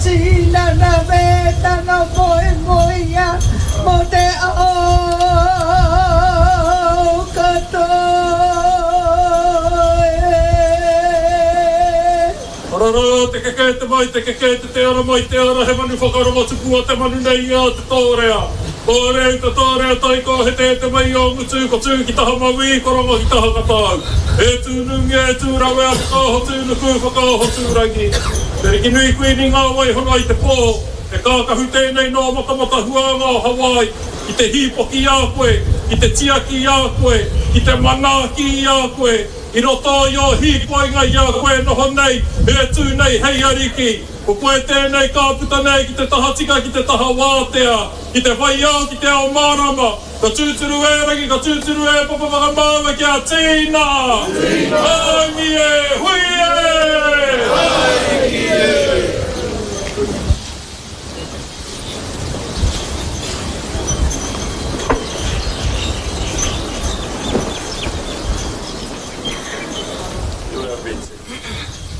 tinana me tana moemoeā mō te ao katoa e. Ararā, te keke te mai, te keke te te ara mai te ara, he manu whakarongo tupua te manu nei i a Te Tōrea. Tōrea i te tōrea taiko he te te mai o ngutu, ko tū ki taha mauī, ko rongo ki taha katau. E tū nungia, e tū rawea, whakaoho tū nuku, whakaoho tū rangi. Te Rikinui Kuini ngā waihanga i te pō, he kākahu tēnei nō Matamata Huānga o Hawaii, ki te hīpoki i a koe, ki te tiaki i a koe, ki te manaaki i a koe, I roto i ō hīkoinga i a koe e noho nei, e tū nei hei ariki, ko koe tēnei ka puta nei ki te tahatika, ki te taha wātea, ki te whai ao, ki te ao mārama, ka tūturu e Rangi, ka tūturu e Papa whakamāua kia tīna! Tīna! Haumi e! Hui e! Haumi e!